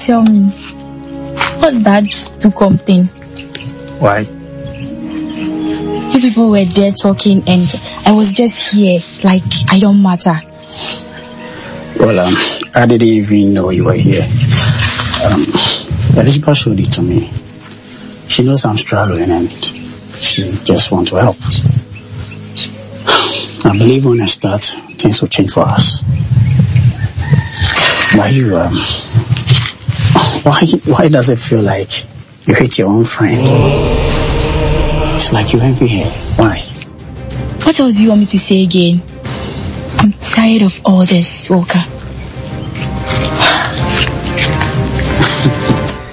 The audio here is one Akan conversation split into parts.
tell me, what's that Dukom thing? Why? You people were there talking and I was just here, like I don't matter. Well, um, I didn't even know you were here. Um, Elizabeth showed it to me. She knows I'm struggling and she just wants to help. I believe when I start, things will change for us. Why you, um, why, why does it feel like you hate your own friend? It's like you envy her. Why? What else do you want me to say again? I'm tired of all this, Walker.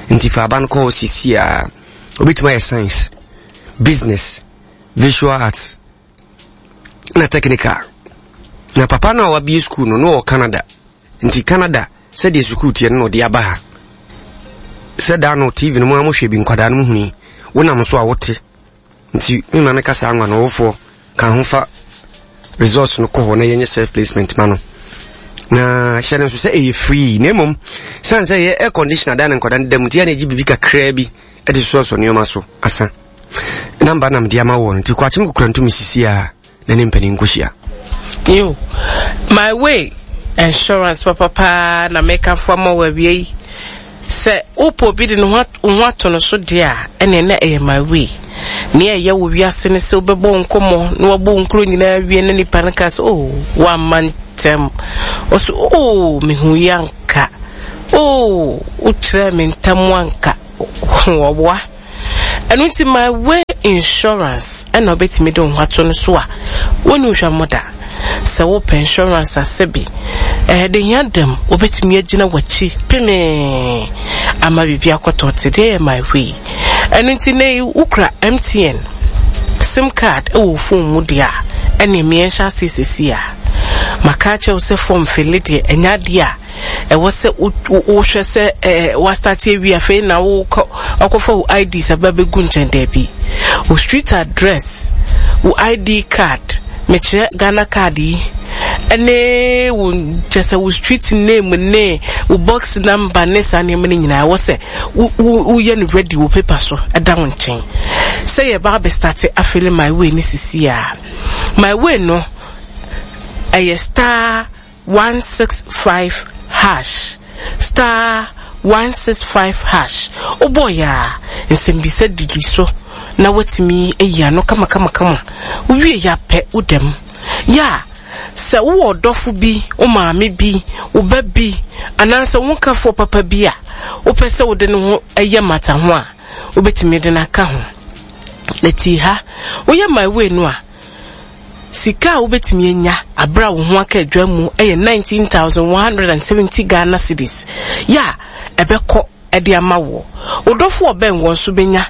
Nti fa aba no kɔ hɔ sisi a obetumi ayɛ science, business, visual arts na technical. Na papa no a wabie school no no wɔ Canada. Nti Canada sɛdeɛ sukuu teɛ no na ɔde aba ha. Sɛ daa no TV no mu a mohwɛ bi nkwadaa no mu huni wonam so a wote. Nti me maame ka saa nwa no wofoɔ ka ho fa results no kɔ hɔ na yɛnyɛ self placement ma no. Na hyɛ no nso sɛ ɛyɛ free na mmom sane sɛ ɛyɛ air conditioner dan na nkwadaa no da mu nti yɛ na ɛgye biribi kakraa bi de soɔsoɔ nneɛma so asa. Namba na mede ama wɔ no nti kɔ akyem kokora ntumi sisi a na ne mpanin nkɔhyia. Yo, my way insurance papa paa na mekamfo ama wo awia yi. Sɛ wopɛ obi de ne ho wo ho ato no so deɛ a, ɛneɛ na ɛyɛ my way. Nea ɛyɛ wɔ wiase ne sɛ wobɛbɔ wo nkɔmmɔ na wabɔ wo nkuro nyinaa awie na nipa no ka sɛ, oh, woamma ntɛm. Ɔso, oh, mehu yi anka. Oh, wokyerɛɛ me ntam anka. Wɔboa. Ɛno nti my way insurance ɛna wobɛtumi de wo ho ato no so a wonni wo hwammɔ da. Sɛ wopɛ insurance a sɛbi ɛɛ de hia dam wobɛtumi agyina w'akyi pemee ama biribi akɔtɔ te deɛ yɛ my way. Ɛno nti nɛ yi wokura MTN sim card ɛwɔ wo phone mu deɛ a ɛneɛ meɛ nhyɛ aseɛ sɛsi a. Maka akyerɛ wo sɛ form fele deɛ ɛnyɛ adeɛ a ɛwɔ sɛ wohwɛ sɛ ɛɛ wastate awie afei na wokɔ akɔfa wo IDs aba bɛgu nkyɛn daabi wo street address wo ID card mekyerɛ Ghana card yi ɛne wo kyɛ sɛ wo street name ne wo box number ne saa nneɛma no nyinaa ɛwɔ sɛ woyɛ no ready wo paper so ɛda wo nkyɛn sɛ yɛba abɛstate afele my way ne sisi a my way no ɛyɛ star 165 hash, star 165 hash, wobɔeɛ a, nsɛmbisa didi so na woatumi ayi ano kamakamakama. Wowie yɛ a pɛ, woda mu. Yɛ a, sɛ wowɔ ɔdɔfo bi, wo maame bi, wo ba bi, anaasɛ wo nkafoɔ papa bi a wopɛ sɛ wode ne ho yɛ mmataho a, wobɛtumi de no aka ho. Na tie ha, woyɛ My Way no a, Sika a wobɛtumi anya aberɛ a wo ho aka adwa mu yɛ 19,170 Ghana cedis yɛ a ɛbɛkɔ de ama woɔ. Wo dɔfo a ɔbɛn woɔ nso bɛnya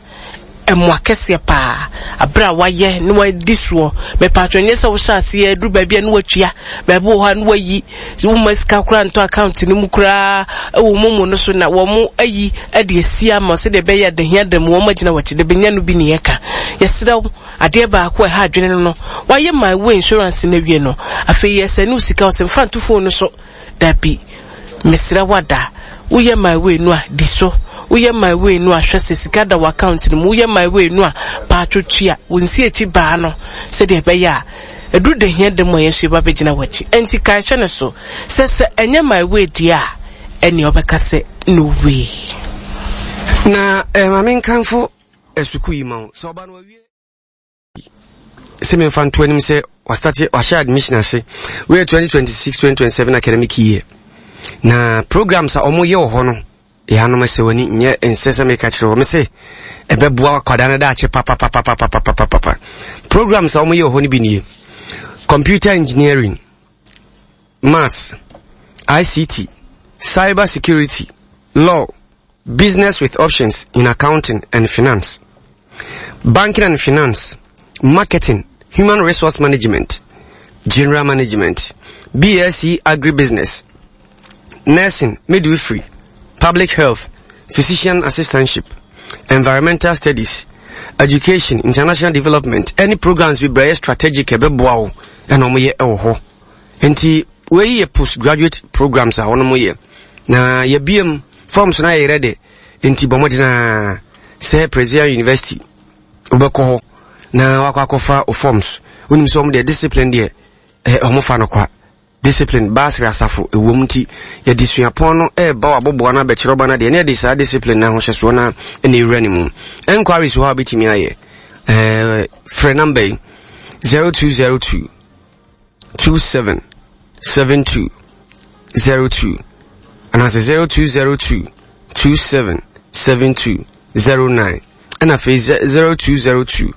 mmoa kɛseɛ paa aberɛ a wayɛ na wadi soɔ. Mepatwɔ nyɛ sɛ wohyɛ aseɛ aduru baabi a na watua, baabi wɔ hɔ a na wayi, womma sika koraa ntɔ account no mu koraa wɔ momo no so na wɔn ayi de asi ama sɛdeɛ ɛbɛyɛ a dahia da mu wɔn agyina w'akyi de bɛnya no bi ne yɛka. Yɛsrɛ wo. Adeɛ baako a ɛha adwene no no, wayɛ my way insurance no awie no, afei yɛsɛne wo sika, ɔsɛ mfa nto phone no so. Dabi, mesrɛ wo ada, woyɛ my way no a, di so. Woyɛ my way no a, hwɛ sɛ sika da w'account no mu. Woyɛ my way no a, paatwo tua wo nsiakyi baa no sɛdeɛ ɛbɛyɛ a ɛduru da hia da mu a yɛn nso yɛba bɛgyina w'akyi. Ɛnti kae hyɛ no so sɛ sɛ ɛnyɛ my way deɛ a, ɛnneɛ wobɛka sɛ no way. Na eh, ma menkamfo sukuu yi ma wo sɛ ɔba no awie sɛ memfa nto anim sɛ wastate wahyɛ admission ase wei 2026 2027 academic year na programs a wɔyɛ wɔ hɔ no yɛanom sɛ w'ani nyɛ nsɛ sɛ meka kyerɛ wɔ me se ɛbɛboa akwadaa no daakye papapapapapapapa programs a wɔyɛ wɔ hɔ no bi nie computer engineering maths ict cyber security law Business with options in accounting and finance, banking and finance, marketing, human resource management, general management, BSc agribusiness, nursing, midwifery, public health, physician assistantship, environmental studies, education, international development, any programs bi brɛ strategic ɛbɛboa wo ɛna wɔyɛ ɛwɔ hɔ. Nti wei yɛ postgraduate programs a wɔn yɛ. Na yɛbiem. Forms no ayɛ ready nti bɔ mmɔden ara sɛ Presbyterian University wobɛkɔ hɔ na wakɔ akɔfa o forms. Wonim sɛ wɔn deɛ discipline deɛ eh, wɔn fa no kwa. Discipline baasere asafo ɛwom nti yɛde suapɔn no ɛreba w'aboboa no abɛkyerɛ ɔba no adeɛ na yɛde saa discipline no ahohyɛsoɔ no na ɛwura ne mu. Enquiries wɔ hɔ a wobɛtumi ayɛ. Eh, frɛ number yi 0202 27 72 02 anaasɛ 0202 27 72 09 ɛna afei 0202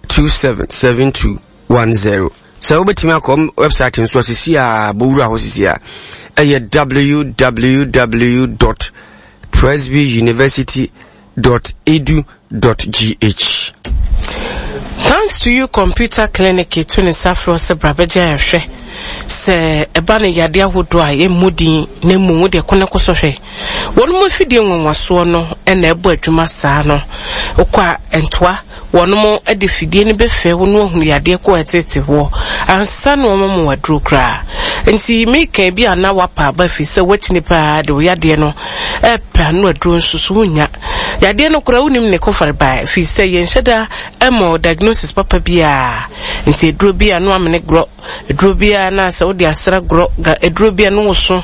27 72 10. Sɛ wobɛtumi akɔ website nso asisi a bɔwura hɔ sisi a ɛyɛ www dot presbyuniversity dot edu dot gh. Thanks to you computer clinic etu ne nsa frɛ sɛ bra bɛgye ayɛhwɛ sɛ ɛba no yadeɛ ahodoɔ a yɛmmɔ din na mmom wode ɛko no kɔ so hwɛ. Wɔn mu afidie nwanwasoɔ no na ɛbɔ adwuma saa no. Wokɔ a ntoa wɔnom de fidie no bɛfɛ wo na wahunu yadeɛ ko a ɛtete woɔ ansa na wɔama wo aduro koraa. Nti meka bi a na wapa aba firi sɛ woakyini paa de wo yadeɛ no ɛpɛ ano aduro nso so wonnya. Yadeɛ no koraa wonim ne kɔfare ba firi sɛ yɛnhyɛ da mmɔ diagnosis papa biara. Nti aduro bi a na wamene gorɔ Aduro biara na sɛ wode asra gorɔ ga aduro bi a no woso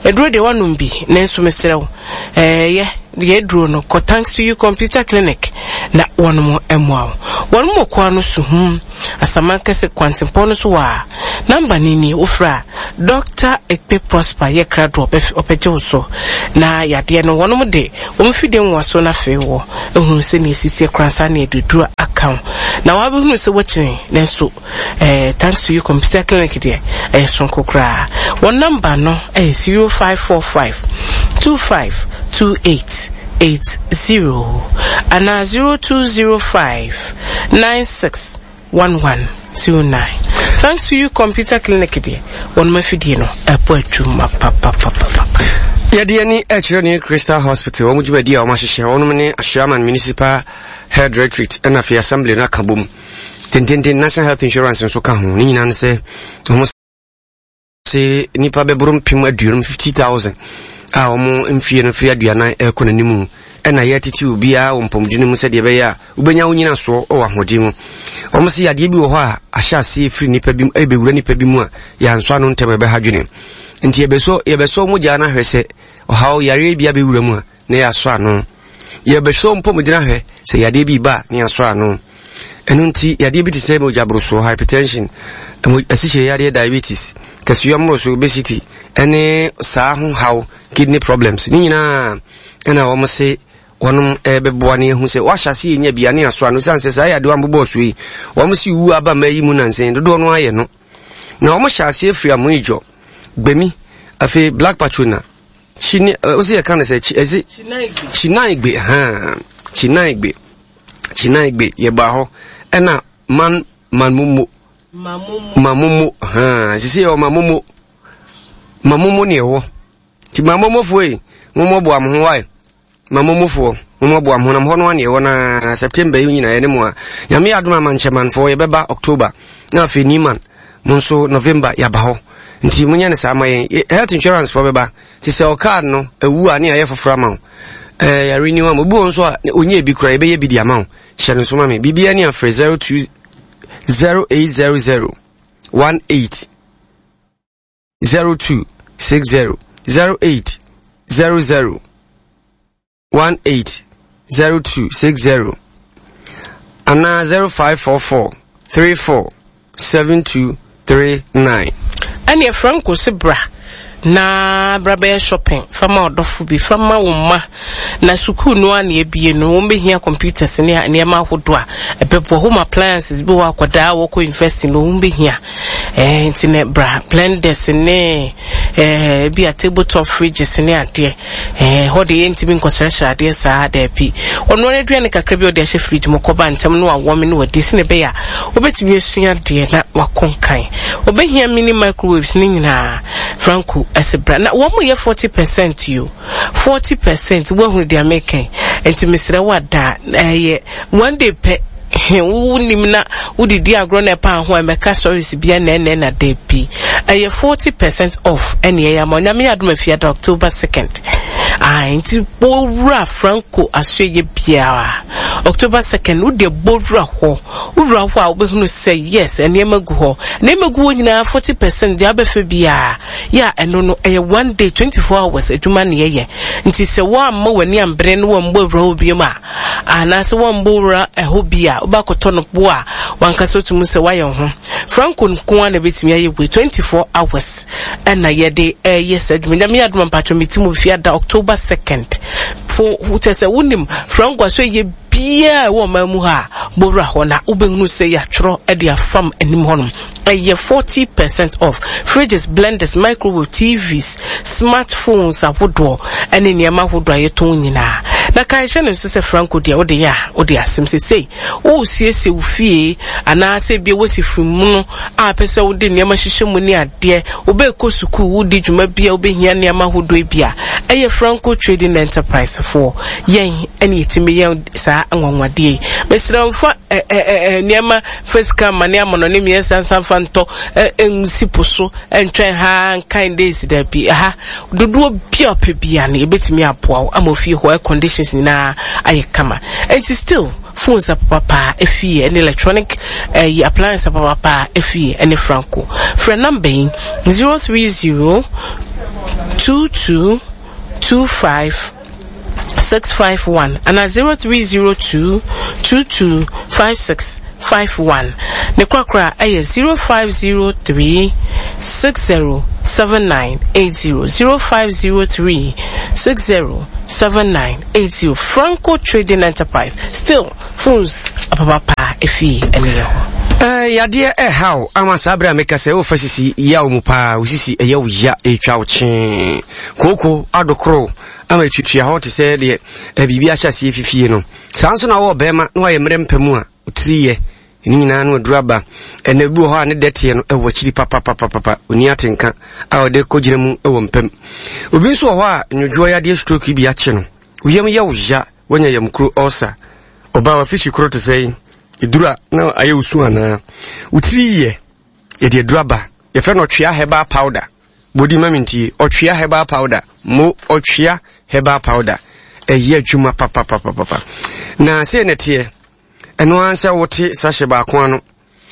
aduro deɛ wanom bi nanso mesrɛ wo ɛyɛ yɛ aduro no kɔ thanks to you computer clinic na wɔnom mmoa wo wɔnom wɔ koa no so hum asaman kɛse kwantempɔn no so wɔ a namba no ni wofrɛ a Dr. Ekpe Prosper yɛ krado ɔbɛgye wo so na yadeɛ no wɔnom de wɔn fidie nwaso no afei wɔ ehunu sɛ ne esisi koraa saa ne aduduro aka wo na wabɛhunu sɛ wakyini nanso Eh, thanks to you computer clinic deɛ ɛyɛ sonko koraa. Wɔn namba no ɛyɛ 0545 25 28 80 anaa 0205 96 1109. Thanks to you computer clinic deɛ wɔn afidie no ɛbɔ adwuma papapapapa. Yɛde ani ɛkyerɛ ne Crystal Hospital wɔn dwumadi a wɔn ahyehyɛ wɔn ne Ashaiman Municipal Health Directorate ɛna afei Assembly no aka bom. Tententen National Health Insurance nso ka ho. Ne nyinaa ne sɛ wɔn se nnipa bɛboro mpem aduonum 50,000 a wɔn mfie no firi aduanan ɛrekɔ n'anim ɛna yɛtete obiara wɔ mpɔmuden mu sɛdeɛ ɛbɛyɛ a wobɛnya wo nyinasoɔ wɔ ahoɔden mu. Wɔn se yadeɛ bi wɔ hɔ a ahyɛ aseɛ firi nnipa bi mu ɛbɛwura nnipa bi mu a yɛansɔ ano ntɛm ɛbɛha dwene. Nti yɛbɛsɔ yɛbɛsɔ mogya no ahwɛ sɛ ɔhaw yareɛ bi abɛwura mu a na yɛasɔ ano. Yɛbɛhwɛ mpɔmuden ahwɛ sɛ yadeɛ bi ba a na yɛasɔ ano. Ɛno nti yadeɛ bi te sɛ mogya borosoɔ, hypertension, asikyire yadeɛ, diabetes, kɛseyɔ mmoroso, obesity, ɛne saa ho haw, kidney problems, ne nyinaa ɛna wɔn se wɔnom ɛbɛboa ne ehu sɛ wahyɛ ase yɛ nya bi a ne yɛasɔ ano. Sane sɛ saa yadeɛ wɔn so yi, wɔn se wu aba mmaa yi mu nansen dodoɔ no ayɛ no. Na wɔn hyɛ aseɛ firi amoidwɔ, gbemi, afei black patrona, Chine, ɔsɛ yɛka no sɛ ɛse Chinaigbe haa Chinaigbe Chinaigbe yɛbaa hɔ ɛna man man momo mamomo haa sisi yɛ mamomo mamomo ne ɛwɔ nti mamomofoɔ yi mommɔboa mo ho wae Mamomofoɔ, mommoaboa mo ho na mo hɔ no ara na yɛwɔ na September yi nyinaa yɛne mo a. Nyame yɛ adom a Mankyɛmanfoɔ yɛbɛba October na afei Niman mo nso November yɛaba hɔ. Nti monyɛ no saa ma yɛn. Health insurance foɔ bɛba. Nti sɛ ɔcard no awu a ne yɛayɛ foforɔ ama wo. Ɛɛ yɛ renew ama. Obi wɔ nso a ɔnyɛ bi koraa yɛbɛyɛ bi de ama wo. Hyɛ no nso ma me. Biribiara ni afrɛ 02 0800 18 02 60 08 00 18 02 60 anaa 0544 34 72 39. Ɛneɛ Franco se bra na bra bɛyɛ shopping fa ma ɔdɔfo bi fa ma wo mma na sukuu no a na ebie no wɔn bɛhia computers ne nneɛma ahodoɔ a ɛbɛboa home appliances bi wɔ akwadaa a wɔkɔ university no wɔn bɛhia Eh, nti ne bra blenders ne eh, bi a table top fridges ne adeɛ eh, hɔ de yɛntumi nkɔsrɛsrɛ adeɛ saa daabi ɔno ara aduane kakra bi a ɔde ahyɛ fridge mu kɔba ntɛm no awɔme no wadi sene ɛbɛyɛ a wobɛtumi asua adeɛ na wakɔ nkan ɔbɛhia mini microwaves ne nyinaa Franco ɛsɛ bra na wɔn yɛ 40 percent yo 40 percent woahunu deɛ meka nti mesrɛ wo ada ɛyɛ one day pɛ Wonim na wode di agorɔ na ɛpa ho a ɛmɛka stories bia nɛɛnɛɛ na dabi. Ɛyɛ 40 percent off ɛne ɛyɛ ama. Onyame yɛ adom afiada October 2nd. Ae, nti bɔwura Franco asoɛyɛ biara. October 2nd, wo deɛ bɔwura hɔ. Wowura hɔ a wobɛhunu sɛ yes, nneɛma gu hɔ. Nneɛma gu hɔ nyinaa 40% deɛ abɛfɛ biara. Yɛ a ɛno no, ɛyɛ one day, 24 hours adwuma na yɛyɛ. Nti sɛ woamma w'ani ambere na woammɔ awura hɔ biom a, anaasɛ woammɔ wura ɛhɔ bi a, wobɛakɔtɔ no bo a wankasa wotumi sɛ woayɛ wo ho. Franco nko ara na ɛbɛtumi ayɛ wei, 24 hours ɛna yɛde ɛyɛ saa adwuma. Nyame yɛ adom a mpakyɛ meti mu fiada October 2nd. Fo, kyɛ sɛ wonim Franco aso ɛyɛ biara ɛwɔ ɔman mu ha a, bɔwura hɔ na wobɛhunu sɛ yɛatwerɛ de afam anim hɔnom. Ɛyɛ 40 percent off. Fridges, blenders, microwave, TVs, smartphones ahodoɔ ɛne nneɛma ahodoɔ a yɛtɔn nyinaa. Na kae hyɛ no nso sɛ Franco deɛ wode yɛ a wode asɛm sesei woresiesie wo fie anaasɛ ebia woasi firi mu no a pɛ sɛ wode nneɛma hyehyɛ mu ne adeɛ, wobɛkɔ sukuu, wodi dwuma bi a wobɛhia nneɛma ahodoɔ bi a, ɛyɛ Franco Trading Enterprise foɔ. Yɛn ɛne yɛtumi yɛ saa anwanwadeɛ yi. Mesrɛ mfa nneɛma fa sika amane amanɔne mmiɛnsa nsa mfa ntɔ nsi po so ntwɛn ha nkan days daabi. Ɛha dodoɔ bi a ɔpɛ bia no yɛbɛtumi aboa wo ama ofie hɔ air conditions nyinaa ayɛ kama. Nti still phones apapapaa efie ɛne electronic ɛyi appliance apapapaa efie ɛne Franco. Frɛ number yi 030 22 25 651 anaa 0302 22 56 51. Ne korakora ɛyɛ 0503 60 7980 0503 60 7980. Franco Trading Enterprise. Still phones apapapa efi ɛne yɛ hɔ. Eh, yadeɛ ɛhaw ama saa berɛ a meka sɛ wofa sisi yaw mu paa, wo sisi ɛyɛ wo ya, ɛtwa wo kyee, kooko adokoro ama ɛtuatua hɔ te sɛ deɛ eh, biribi ahyɛ aseɛ fifie no. Saa nso na wɔ bɛrima na wayɛ mmerɛ mpɛ mu a ɔtiri yɛ ne nyinaa no aduru aba. Ɛna bi wɔ hɔ a ne dɛteɛ no ɛwɔ akyiri papapapapa, ɔni atenka a ɔde kɔgyina mu wɔ mpam. Obi nso wɔ hɔ a nwodwoɔ yadeɛ stroke bi akye no, wo yam yɛ wo ya, woanya yamkuro ulcer, ɔbaa wafishi koro te sɛ yi, ɛduru a na ayɛ wo su anaa, wo tiri yɛ, yɛde aduru aba, yɛfrɛ no ɔtwea herbal powder. Bodi ma mentie, ɔtwea herbal powder, mo ɔtwea herbal powder, ɛyɛ adwuma papapapapa. Na sei na ɛteɛ, ɛno ara sɛ wote sachet baako ano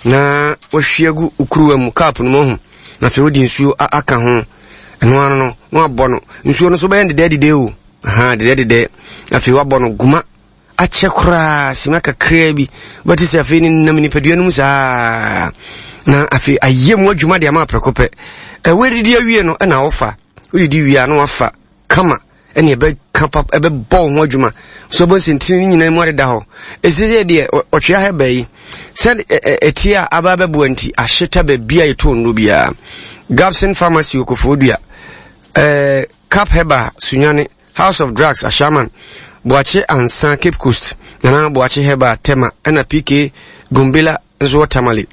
na wahwie agu wo kuruwa mu cup no mu ahu, na afei wode nsuo aka ho, ɛno ano no na wabɔ no, nsuo no so bɛyɛ dedɛɛdedɛ o, aha dedɛɛdedɛ, afei wabɔ no guma akyɛ koraa sima kakraa bi wobɛte sɛ afei ne nam nipadua no mu saa na afei ayɛ mu adwuma de ama prɛko pɛ. Ɛwɔ adidi awie no ɛna wofa wodidi wie a na wafa kama ɛne ɛbɛka pap ɛbɛbɔ wo ho adwuma so ɛbɔ nsɛntini no nyinaa mu adeda hɔ. Ɛsɛ sɛ deɛ ɔtwea ha bɛyi sɛ ɛtie a aba bɛboa nti ahyeta baabi a yɛtɔn nnuro biara. Gabson Pharmacy Okofoɔ Dua, ɛɛ Cap Herbal Sunyani, House of Drugs Ashaiman, Boakye Ansa Cape Coast, Nana Boakye Herbal Tema, ɛna PK Gombela nso wɔ Tamale.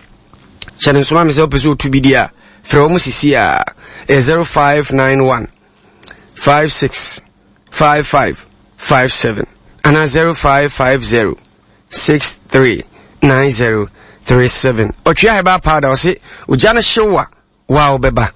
Hyɛ no nsoma me sɛ wopɛ sɛ wotu bi di a, frɛ wɔn sisi a ɛyɛ 0591 56 55 57 anaa 0550 63 90 37. Ɔtwea herbal powder ɔse ogya no hyew a Wow bɛba.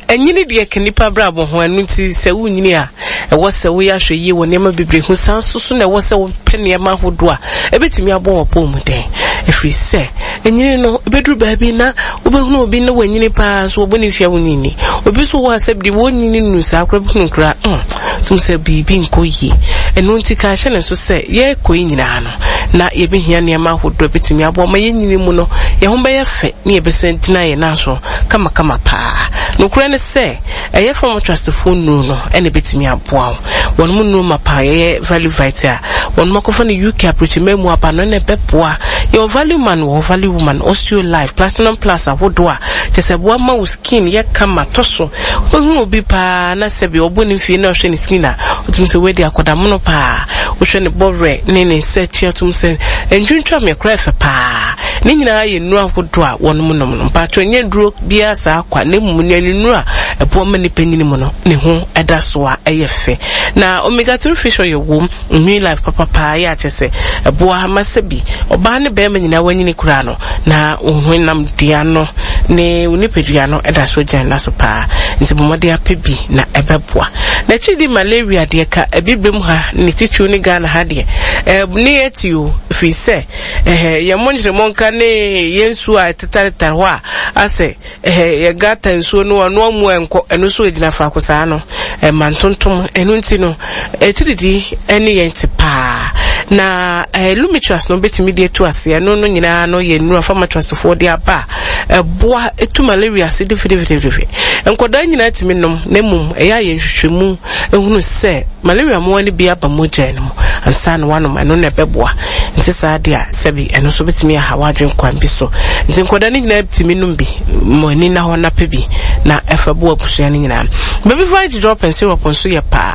Anyini deɛ ka nnipa abrabɔ ho, ɛno nti sɛ wonyini a, ɛwɔ sɛ woyɛ ahwɛyie wɔ nneɛma bebree ho. Saa nso so na ɛwɔ sɛ wopɛ nneɛma ahodoɔ a ɛbɛtumi abɔ w'apɔmuden. Ɛfiri sɛ, anyini no, ɛbɛduru baabi na wobɛhunu obi na wanyini paa nso wɔbɔ ne mfeɛ a wonyini. Obi nso wɔ hɔ a sɛ deɛ wɔnyini nnu saa koraa bɛhunu koraa, mm, tum sɛ biribi nkɔ yie. Ɛno nti ka hyɛ ne nso sɛ yɛrekɔ yi nyinaa no, na yɛbɛhia nneɛma ahodoɔ a ɛbɛtumi aboa ma yɛn nyini mu no, yɛn ho bɛyɛ fɛ ne yɛbɛsan gyina yɛn nan so kamakama paa. Nokorɛ ne sɛ, ɛyɛ fam trustfoɔ nnuro no na ɛbɛtumi aboa wo. Wɔn mu nnuro mapa a yɛyɛ Value Vite a wɔn akɔfa no UK aburokyiman mu aba no na ɛbɛboa. Yɛwɔ Value Man wɔ hɔ, Value Woman, Osteo Life, Platinum Plus ahodoɔ a kyerɛ sɛ ɛboa ma wo skin yɛ kama tɔ so. Wobɛhunu obi paa na sɛbi ɔbɔ ne mfie na ɔhwɛ ne skin a, wotumi sɛ wei deɛ akɔdamono paa. Wohwɛ ne bɔwerɛ ne ne nsa akyi a, wotumi sɛ ntwintwam koraa ɛfɛ paa. Ne nyinaa yɛ nnuro ahodoɔ a wɔnom nom no. Mpaatwɔ nyɛ duro biara saa kwa na mmom nnuane nnuro a ɛboa ma nipa nyini mu no ne ho da so a ɛyɛ fɛ. Na omega 3 fish oil wom, nwi life papapaa yɛ akyɛ sɛ ɛboa ma sɛbi ɔbaa ne bɛrima nyinaa wanyini koraa no na wo honam dua no ne wo nipadua no da so gyina nna so paa. Nti bɔ mmɔden apɛ bi na ɛbɛboa. N'akyiri di malaria deɛ ka Abibirem ha ne titiriw ne Ghana ha deɛ ɛɛ ne yɛ te o ɛfiri sɛ ɛhɛ yɛn monkyeremɔnka ne yɛn nsuo a ɛtetaretare hɔ a asɛ Ɛhɛ, yɛ gata nsuo no ɔno amu ɛnkɔ, ɛno nso ɛgyina faako saa no, ɛma ntontom, ɛno nti no, atiridii ɛne yɛn te paa. Na ɛɛ Lumitrust no bɛtumi de atu ase, ɛno no nyinaa no yɛ nnuro a Pharmatrustfoɔ de aba a ɛboa ɛtu malaria ase defidefidefide. Nkwadaa nyinaa tumi nom, na mmom ɛyɛ a yɛ nhwehwɛmu ehunu sɛ malaria mmoa no bi aba mogya no mu ansa na wanom, ɛno na ɛbɛboa. Nti saa deɛ a, sɛbi ɛno nso bɛtumi aha w'adwene kwan bi so. Nti nkwadaa no nyinaa tumi nom bi, mo ani na hɔ na pɛ bi na ɛfa bu abusua no nyinaa. Baby Vite drop and syrup nso yɛ paa.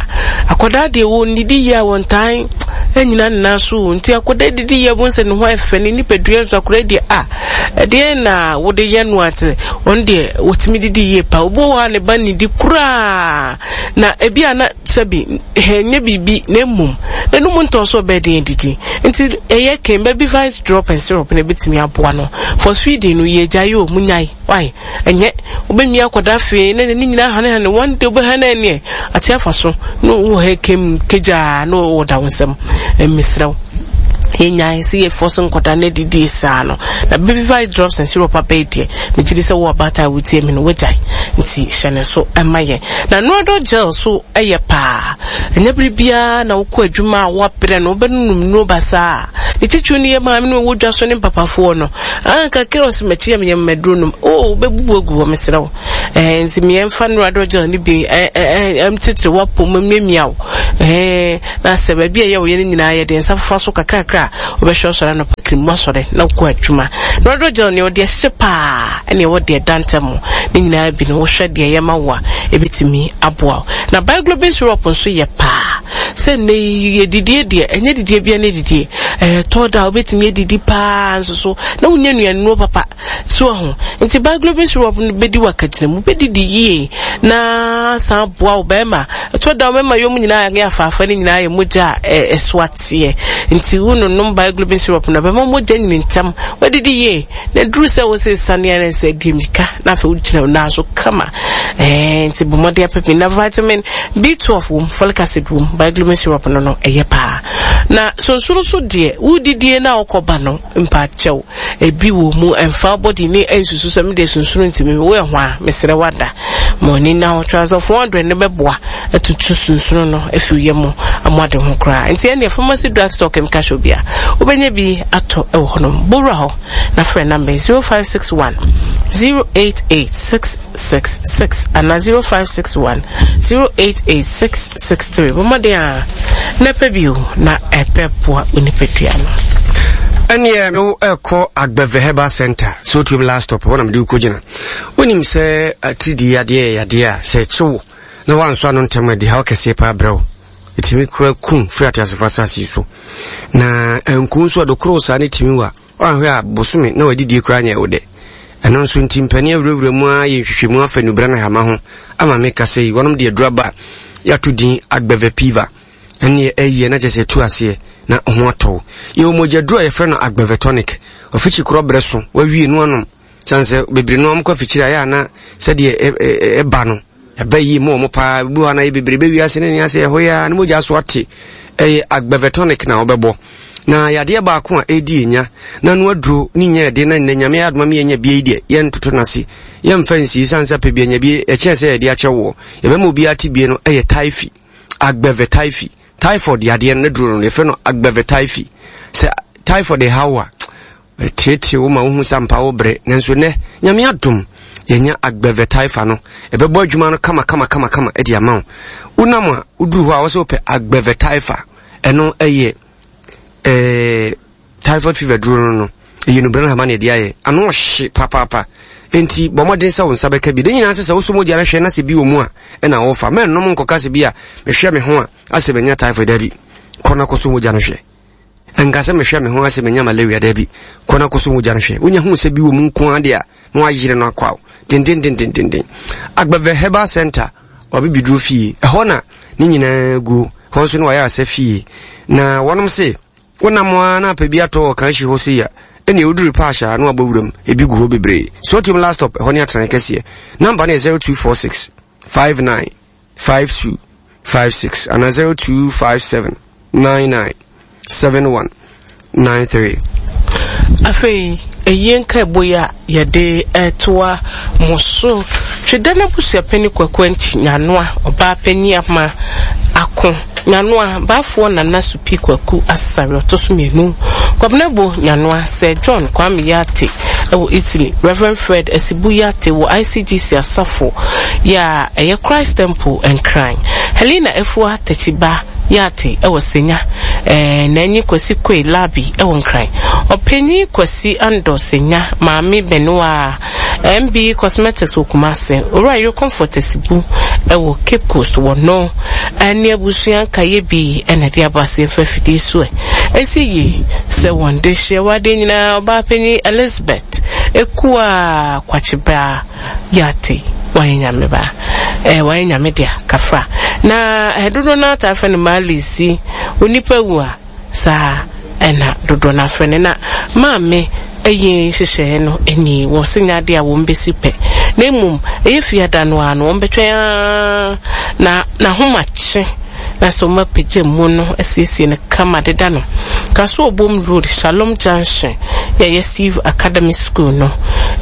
Akwadaa deɛ wɔn didi yie a wɔn tan nyina ne nan so nti akwadaa didi yie wɔn sɛ ne ho ɛfɛ ne nipadua nso akwadaa deɛ a ɛdeɛ na wɔde yɛ no ate wɔn deɛ wɔtumi didi yie paa. Obi wɔ hɔ a ne ba nidi koraa. Na ebi a na sɛbi ɛnyɛ biribi na mmom n'anum ntɔn so ɔbɛyɛ den adidi nti ɛyɛ ken baby vice drop and syrup na ebetumi aboa no for feeding no yɛ gyae o munyae why ɛnyɛ wobɛmia akɔda afei na n'ani nyinaa hanehane one day wobɛha no ɛneɛ ate afa so na wɔ ha kem kegyaa na wɔda wo nsam mesrɛ wo yɛnyae sɛ yɛfɔ so nkɔda no adidie saa no na baby vice drops and syrup abɛyɛ deɛ Megye di sɛ wo ɔbaatan a wotie me no, woagyae, nti hyɛ ne nso ma yɛn. Na Noradol gel so yɛ paa. Ɛnyɛ bere biara na wokɔ adwuma a woabrɛ no, wobɛnonom nnuro basaa. Ne titiriw ne yɛn maame no a ɛwɔ dwa so ne mpapafoɔ no. Ah, kakra ɔse makyi yɛ meyɛ maduro nom. Oh, wobɛbubu agu hɔ, mesrɛ wo. Eh, nti meɛmfa Noradol gel no bi eh, eh, eh, titiri w'apɔ mu miamia wo. Eh, Na sɛ baabi a ɛyɛ wo yɛ no nyinaa yɛde nsa fofa so kakrakra a, wobɛhwɛ ɔsɔre anɔpa kirim wasɔre na wokɔ adwuma. Na ɔdɔ gyina nea ɔde ahyɛ paa ɛne ɛwɔ deɛ ɛda ntam ne nyinaa bi no wohwɛ deɛ ɛyɛ ma wo a ɛbɛtumi aboa wo. Na Biglobin syrup nso yɛ paa. Sɛ nnɛ yi yɛdidie deɛ ɛnyɛ didie bia ne didie. Ɛtɔ da a wobɛtumi adidi paa nso so na wonya nnuannuo papa. So wahu? Nti Biglobin syrup no bedi w'akagyina mu, bɛdidi yie na san boa wo bɛrima. Ɛtɔ da mɛma yom nyinaa ne afaafa no nyinaa yɛ mogya a ɛso ateɛ. Nti wononom Biglobin syrup no bɛma mogya nyini ntɛm. Wadidi yie na duru sɛ wo sɛ sane a sɛ di mmirika na afei wogyina wo nan so kama. Ɛɛ nti bɔ mmɔden apɛ bi na vitamin B12 wom, folic acid wom, Biglobin syrup no no ɛyɛ paa. Na sonsoro so deɛ wodidie na wokɔba no Mpakyɛw, ebi wɔ mu, ɛmfa wo body ne ɛnsusu sɛ me deɛ sunsunu nti me wo ɛho a, mesrɛ wo ada. Ma w'ani nna hɔ, Transol 400 no bɛboa atutu sunsunu no afi wo yam mu ama ade ho koraa. Nti ɛnneɛ pharmacy, drug store, chemical shop bia, wobɛnya bi atɔ wɔ hɔnom. Bɔ wura hɔ na frɛ number yi 0561 088 666 anaa 0561 088 663. Bɔ mmɔden a na pɛ bi o, na ɛbɛboa wo nipadua no. Ɛneɛ wo ɛkɔ Agbɛvɛ Herbal Center sɛ wotuom last stop hɔ na mede wokɔgyina. Wonim sɛ atiridii yadeɛ yɛ yadeɛ a sɛ ɛkye wo na woansɔ ano ntɛm a ɛde haw kɛseɛ paa brɛ wo. Ɛtumi kora kum firi ateasefo asase yi so. Na anku nso ɛdokoro saa ne tumi wa Woanhwɛ a bosome na w'adidie koraa nyɛ wo dɛ. Ɛno nso nti mpanin awurawura mu ara yɛ nhwehwɛmu afa nnubra ne hama ho ama me kasa yi. Wɔnom de aduru aba a yɛato din Agbeve Piva. Ɛnneɛ ɛyɛ na kyerɛ sɛ ɛtu aseɛ na ho atɔ wo. Yɛwɔ mogyaduru a yɛfrɛ no Agbeve Tonic. Ɔfikyi korɔ berɛ so, wawie no anom. Kyɛn sɛ bebree no wɔn kɔ afikyiri a ɛyɛ a na sɛdeɛ ɛba no ɛba yie mu wɔn paa bi hɔ na yɛ bebree bɛ wiase ne ne ase ɛhɔ yɛ a ne mogya so ate ɛyɛ agbɛvɛtɔnik na wɔbɛbɔ na yadeɛ baako a ɛredi enya na no aduro ne nya ɛde na nnɛ nyame adoma mi yɛnya bie yi deɛ yɛntoto n'ase yɛmfa nsie san sɛ pɛ bi anya bie ɛkyɛn sɛ yɛde akyɛ woɔ yɛbɛma obiara te bie no ɛyɛ taifi agbɛvɛ taifi typhoid yadeɛ no ne duro no yɛfrɛ no agbɛvɛ taifi sɛ typhoid ɛhaw a Ɛteetee wo ma wohu sɛ ampa wobrɛ, nanso nnɛ, Nyame adom, yɛanya Agbeve Taifa no. Ɛbɛbɔ adwuma no kama kama kama kama de ama wo. Wonam a, woduru hɔ a, wɔsɛ wopɛ Agbeve Taifa. Ɛno ɛyɛ ɛɛ typhoid fever duro no no. Ɛyɛ nubra no hama na ɛde ayɛ. Ano ɔhye papaapa. Enti bɔ mmɔden sɛ wo nsa bɛka bi. Ne nyinaa sɛ sɛ wosɔ mogya no hwɛ na sɛ bi wɔ mu a, ɛna wɔfa. Mɛnnom nkɔka sɛ bi a mehwɛ me ho a asɛ manya typhoid dabi. Kɔ na kɔsɔ mogya no hwɛ. Ɛnka sɛ mehwɛ me ho ase menya malaria dabi. Kɔ na kɔsɔ mogya no hwɛ. Wonya hu sɛ bi wɔ mu nko ara deɛ a, na wayere no akɔ aw. Dendendendendenden. Agbɛvɛ Herbal Center, wabibiduro fie. Ɛhɔ na ne nyinaa guo. Hɔ nso ne wayaresa fie. Na wɔnom se, wonam ara na apɛ bi atɔ wɔ kanhyi hɔ sei a, ɛnneɛ woduru Paahyɛ a na wabɔ wuram. Ebi gu hɔ bebree. Sotium last stop, ɛhɔ ne atenae kɛseɛ. Namba no yɛ 0246 59 52. 56 anaa 0257 99 71 93. Afei, eyie nkaebɔ yi a yɛde retoa mo so. Tweda no abusuapanin Kwaku Antwi Nyanoa, ɔbaa panin Ama Ako Nyanoa, Baafoɔ Nana Supi Kwaku Asare ɔtɔ so mmienu, Kwabena Bo Nyanoa, Sir John Kwame Yartey wɔ Italy, Rev. Fred Asibu Yartey wɔ ICGC Asafo yɛ a ɛyɛ Christ Temple, Nkran, Helena Afua Takyiba Yartey wɔ Senya, Nanyi Kwasi Koi Larbi wɔ Nkran, Ɔpanyin Kwasi Andor Senya, Maame Benewaa, MB Cosmetics wɔ Kumasi, Owura Yere Comfort Asibu wɔ Cape Coast wɔ no ne abusua nkaeɛ bi na ɛde aba ase mfa afidie so ɛ. Ɛsi yie sɛ wɔn de hyeɛ wɔ adeɛ nyinaa Ɔbaapanyin Elizabeth Ekuaa Kwakyebaa Yartey wayɛ nyame ba eh, wayɛ nyame dea kafra na eh, dodoɔ no ara taa frɛ no Maalisi onipa wu a Saa na dodoɔ no ara frɛ no. Na maame ayi nhyehyɛeɛ no nie, wɔ se nyɛ adeɛ a wɔn bɛsi pɛ, na mmom ɛyɛ fiada no ara no wɔn bɛtwɛn ara na n'ahomakye na sɛ wɔn apagya mu no asiesie no kama deda no. Kasoa Obom Road, Shalom Junction, yɛ ɛyɛ Steve Academy School no,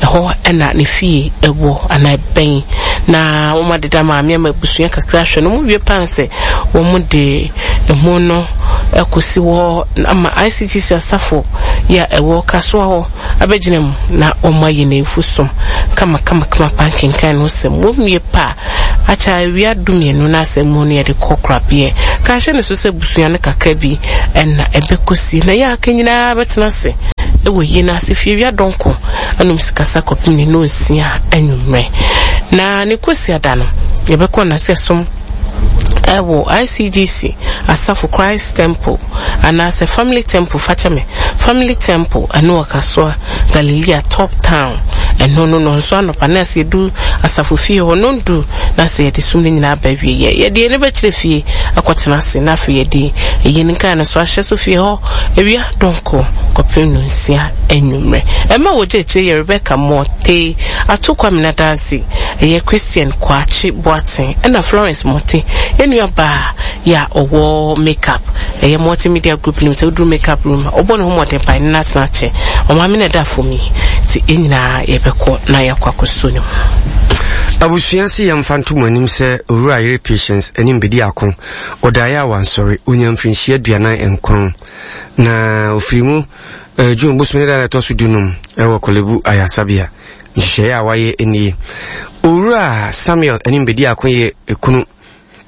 ɛhɔ na ne fie ɛwɔ anaa ɛbɛn. Na wɔn adeda maame ama abusua kakra ahwɛ no, wɔn wie paa sɛ wɔn de Emu no kɔsi hɔ ama ICGC asafo yi a ɛwɔ Kasoa hɔ abɛgyina mu na wɔayɛ n'afu som kamakamakama pa nkenkan no sɛm wɔ wie pa a akyɛ awia dumienu na asɛm mu no yɛde kɔ korabeɛ. Ka hyɛ no so sɛ busua no kakra bi na ɛbɛkɔsi na yɛ aka nyinaa bɛtena ase wɔ yie no ase fie awia dɔnko anom sikasa kɔpem ne nonsia anwummerɛ na ne kɔsiada no yɛbɛkɔ nase som Ɛwɔ ICGC asafo Christ Temple anaasɛ Family Temple fakyɛ me Family Temple ɛno wɔ Kasoa Galilea Top Town ɛno no nɔnso anɔpa na sɛ yɛdu asafo fie hɔ nɔndu na sɛ yɛde sum no nyinaa ba awie yɛ yɛde yɛn bɛkyerɛ fie akɔtena ase na afei yɛde ɛyi no nkae no so ahyɛ so fie hɔ awia dɔnko kɔpem nonsia anwummerɛ ɛma wɔgya akyire yɛ Rebecca Morte Ato Kwamina Dansi ɛyɛ Christian Kwakye Boateng ɛna Florence Morte yɛn nua baa yɛ a ɔwɔ make up ɛyɛ Morte Media Group nim sɛ woduru make up room a ɔbɔ ne ho mmɔden paa ɛne no atena akyɛ ɔmaame na ɛda fam yi nti yɛn nyinaa yɛbɛkɔ na yɛakɔ akɔsuo ne mu. Abusua se yɛmfa nto mo anim sɛ Owura Yere Patience anim bedi ako. Ɔdaeɛ a wansɔre. Ɔnyaa mfirinhyia 49 na ɔfiri mu eh, June bosome ne da a ɛtɔ so dunum wɔ Korle-Bu Ayarsabea. Nhyehyɛeɛ a wɔayɛ nie. Owura Samuel anim bɛdi ako yɛ ekunu.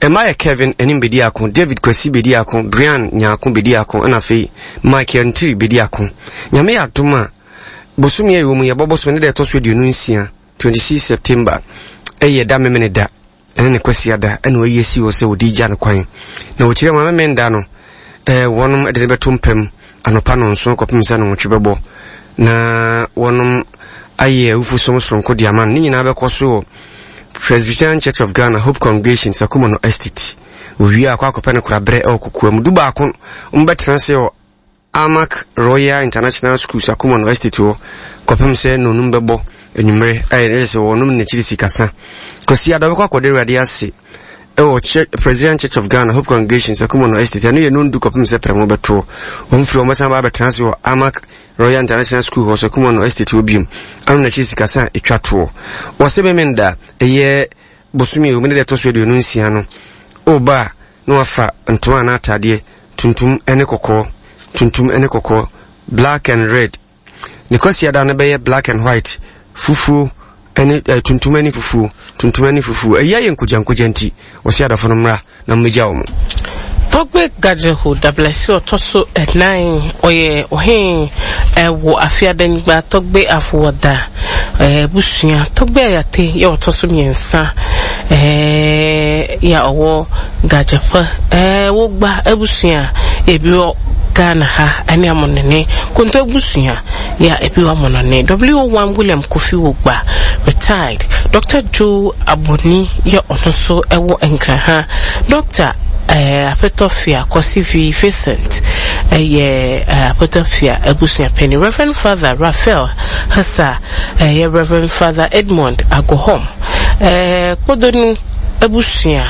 Mma yɛ Kevin anim bɛdi ako, David Kwasi bɛdi ako, Brian Nyarko bɛdi ako, ɛna afei Michael Ntiri bɛdi ako. Nyame yɛ adom a, bosome a ɛwɔ mu yɛbɔ bosome ne da ɛtɔ so 26, 26 September, ɛyɛ da memene da. Ɛne ne Kwasiada ɛna wayi asi hɔ sɛ wɔde gya no kwan. Na wɔkyerɛ ma Memenda no, eh, wɔnom de no bɛto mpam anɔpa nɔnson kɔpem sɛ nɔnwɔtwe bɛbɔ. Na wɔnom ayɛ awufosom soronko de ama no. Ne nyinaa bɛkɔ so wɔ Presbyterian Church of Ghana Hope Congregation Sakumono Estate. Wɔwie a akɔ akɔpɛ no koraberɛ ɛwɔ kokoa mu. Du baako, wɔbɛtena ase wɔ Armac Royal International School Sakumono Estate hɔ kɔpem sɛ nnɔnum bɛbɔ anwummere a ɛyɛ sɛ wɔnom n'akyiri sikasa. Kwasiada ɔbɛkɔ akɔda Awurade ase ɛwɔ Presbyterian Church of Ghana Hope Congregation Sakumono Estate. Ɛno yɛ nondu kɔpem sɛ prɛmo bɛtoɔ. Wɔn firi wɔn bɛsan ba abɛtena ase wɔ Armac Royal International School hɔ Sakumono Estate hɔ biom. Ano n'akyiri sikasa a ɛtwa toɔ. Wɔse Memenda ɛyɛ bosome a ɛwɔ mu ne deɛ ɛtɔ so 26 no, ɔreba a na wafa ntoma anaa ataadeɛ tuntum ne kɔkɔɔ, tuntum ne kɔkɔɔ, black and red. Ne kwasiada no bɛyɛ black and white, fufuo ne eh, tuntum ne fufuo, tuntum ne fufuo. Ɛyi ayɛ nkogyankogya nti, wɔsi adɔfo no mmra na mmegya wɔn. Togbe Gadzehu Dablasi ɔtɔ so ɛnan, ɔyɛ ɔhen ɛwɔ afe Adanyigba Togbe Afowɔda abusua. Togbe Ayate yɛ ɔtɔ so mmiɛnsa yɛ a ɔwɔ Gadzapa Wogba abusua a ebi wɔ Ghana ha ɛne Amonone Konto abusua yɛ a ebi wɔ Amonone. WO1 William Kofi Wogba, retired, Dr. Joe Aboni yɛ ɔno nso ɛwɔ Nkran ha. Dr. Apetɔfia Kwasi Vincent ɛyɛ Apetɔfia abusua panyin. Reverend Father Raphael Hasa ɛyɛ Reverend Father Edmond Agohom. Kpodonu abusua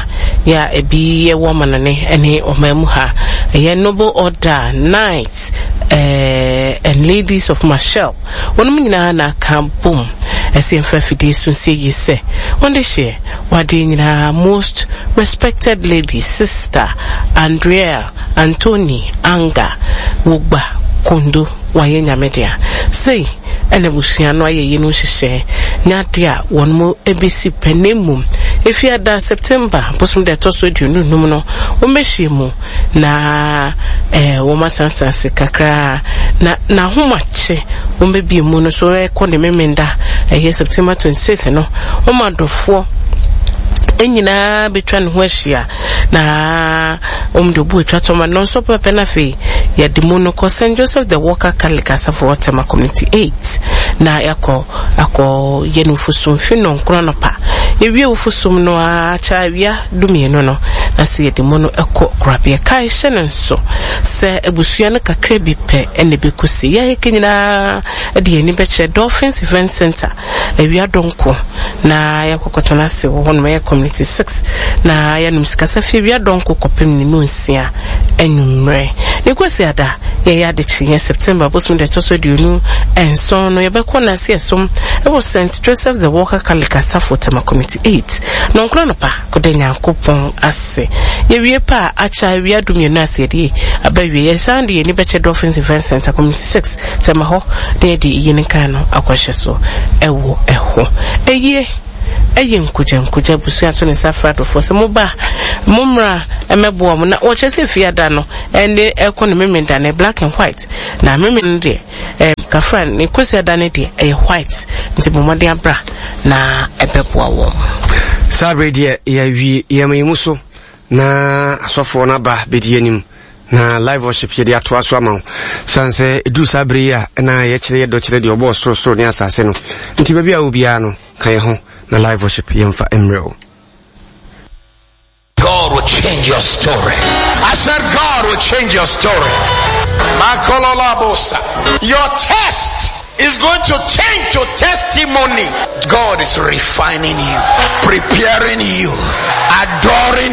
Yɛ a ebi wɔ amanɔne ne ɔman mu ha. Ɛyɛ Noble Order Knights eh, and Ladies of Machel. Wɔnom nyinaa na aka bom ɛsɛ yɛmfa afidie so nsie yie sɛ wɔn de hyeɛ wadeɛ nyinaa most respected lady sister Andrea Anthony Anga Wogba Kondo wayɛ nyame dea. Sei ɛna abusua no ayɛ yei no nhyehyɛɛ nyɛ adeɛ a wɔn mo bɛsi pɛ na mmom Efiada September bosom da ɛtɔ so 25 no wɔn bɛhyia mu na eh, wɔn atenatena ase kakra na n'ahomakye wɔn bɛbie mu no so ɛkɔ ne memenda ɛyɛ September 26 no wɔn adɔfoɔ nyinaa bɛtwa ne ho ahyia na wɔn de obu atwa tɔma no nso pɛpɛ na afei yɛde mu no kɔ St Joseph the Worker Catholic Asafo wɔ Tema Community 8 na yɛakɔ akɔ yɛ no mfosum fi nnɔnkron anɔpa yɛwie wofosum no ara kyɛ awia dumienu no na sɛ yɛde mu no kɔ korabea kae hyɛ no nso sɛ abusua no kakra bi pɛ ɛna ɛbɛkɔsi yɛayɛkɛ nyinaa de yɛn ani bɛkyerɛ Dolphins Event Center Awia dɔnko na yɛakɔkɔtena ase wɔ hɔnom, ɛyɛ Community 6, na yɛanom sikasa fi awia dɔnko kɔpem ne nonsia anwummerɛ. Ne Kwasiada, yɛyɛ adekyeeɛ September bosom da ɛtɔ so 27 no, yɛbɛkɔ Nase ɛsom wɔ St. Joseph the Worker Catholic Asafo, Tema Community 8, nɔnkron anɔpa, kɔda Nyankopɔn ase. Yɛwie pɛ a, akyɛ awia dumienu ase yɛde aba awie. Yɛsan de yɛn ani bɛkyɛ Dolphins Event Center, Community 6, Sɛ ma hɔ na yɛde iyi ne kan no akɔhyɛ so wɔ ɛhɔ. Eyie ɛyɛ nkogyankogya abusua to ne nsa frɛ adɔfoɔ sɛ moba a mommra mmɛboa mo na wɔkyerɛ sɛ fiada no ɛne ɛkɔ no memenda no black and white na memenda no deɛ ɛɛ kafra ne kwasiada no deɛ ɛyɛ white nti bɔ mmɔden abra na ɛbɛboa wɔn. Saa bere deɛ yɛawie yɛma yɛn mu so na asɔfoɔ no aba bɛdi anim na live worship yɛde atoa so ama wo sane sɛ ɛduru saa berɛ yi a na yɛkyerɛ yɛdɔ kyerɛ deɛ ɔbɔɔ sorosoro ne asase no nti baabi a wɔ biara no ka yɛ ho na live worship yɛmfa mmerɛ wo. God will change your story. I said God will change your story. Makololabosa. Your test is going to change to testimony. God is refining you, preparing you, adoring